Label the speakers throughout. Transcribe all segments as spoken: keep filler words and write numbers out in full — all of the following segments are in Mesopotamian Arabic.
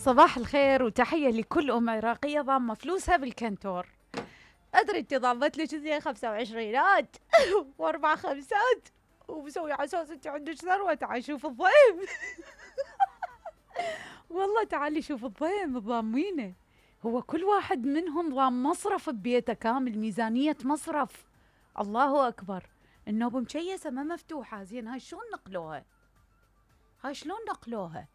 Speaker 1: صباح الخير وتحية لكل أم عراقية ضامة فلوسها بالكنتور. أدري أنت ضامت لك زين خمسة وعشرينات وأربع خمسات ومسوي على أساس أنت عندك ثروة. تعال شوف الضيم. والله تعالي شوف الضيم الضامينه. هو كل واحد منهم ضام مصرف ببيته كامل، ميزانية مصرف. الله أكبر. النوب مشيسة ما مفتوحة. زين هاي شلون نقلوها؟ هاي شلون نقلوها؟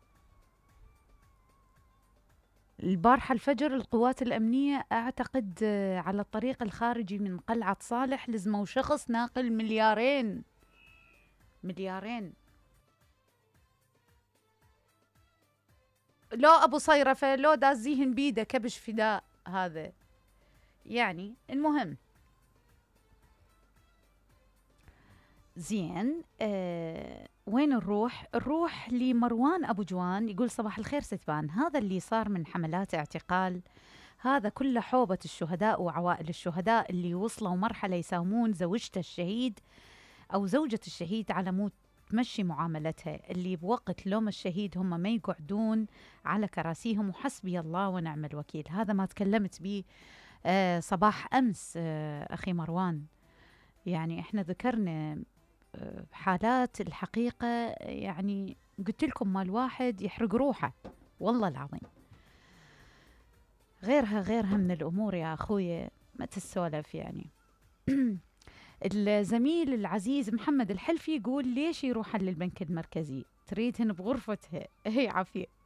Speaker 1: البارحة الفجر القوات الأمنية أعتقد على الطريق الخارجي من قلعة صالح لزموا شخص ناقل مليارين مليارين. لو أبو صيرفة لو دازيهن بيده كبش فداء هذا. يعني المهم زين آه وين نروح؟ نروح لمروان أبو جوان. يقول صباح الخير ستبان، هذا اللي صار من حملات اعتقال هذا كله حوبة الشهداء وعوائل الشهداء اللي وصلوا مرحلة يساومون زوجته الشهيد أو زوجة الشهيد على مود تمشي معاملتها، اللي بوقت لوم الشهيد هم ما يقعدون على كراسيهم، وحسبي الله ونعم الوكيل. هذا ما تكلمت به آه صباح أمس آه أخي مروان. يعني إحنا ذكرنا آه حالات الحقيقة، يعني قلت لكم ما الواحد يحرق روحه والله العظيم. غيرها غيرها من الأمور يا أخوي ما تسولف يعني. الزميل العزيز محمد الحلفي يقول ليش يروح للبنك المركزي؟ تريدهن بغرفتها. هي عافية.